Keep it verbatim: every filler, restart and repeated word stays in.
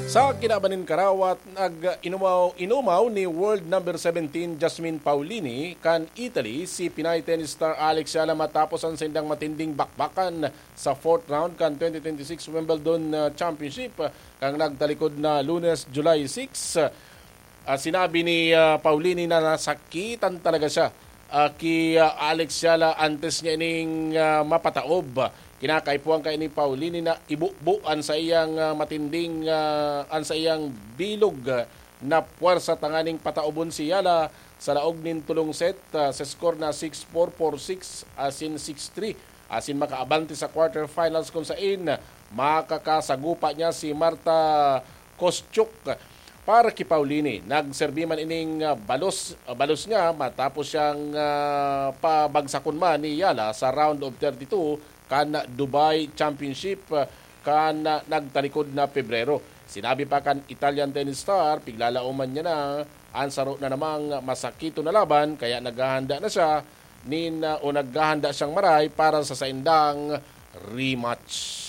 Sa kinaban nin karawat, nag-inumaw-inumaw ni world number seventeen Jasmine Paolini kan Italy si Pinay tennis star Alex Yala matapos an saindang matinding bakbakan sa fourth round kan twenty twenty-six Wimbledon, ah, Championship, ah, kan nagtalikod na Lunes, July six. Ah, sinabi ni, ah, Paolini na nasakitan talaga siya, ah, ki, ah, Alex Yala antes niya ining, ah, mapataob. Kinakaipuhan kaya ni Paolini na ibubo an saiyang, ah, matinding, ah, an saiyang bilog, ah, na puwersa tanganing pataobon si Yala sa laog nin tulong set, ah, sa score na six four, four six, asin six three. Asin makaabante sa quarterfinals kung sain makakasagupa niya si Marta Kostyuk. Para ki Paolini, nagserbi man ining, ah, balos, ah, balos niya matapos siyang, ah, pabagsakon man ni Yala sa round of thirty-two kan Dubai Championship, ah, kan, ah, nagtalikod na Pebrero. Sinabi pa kan Italian tennis star, piglalaoman niya na an saro na namang masakito na laban, kaya naghahanda na siya nin, ah, o naghahanda siyang maray para sa saindang rematch.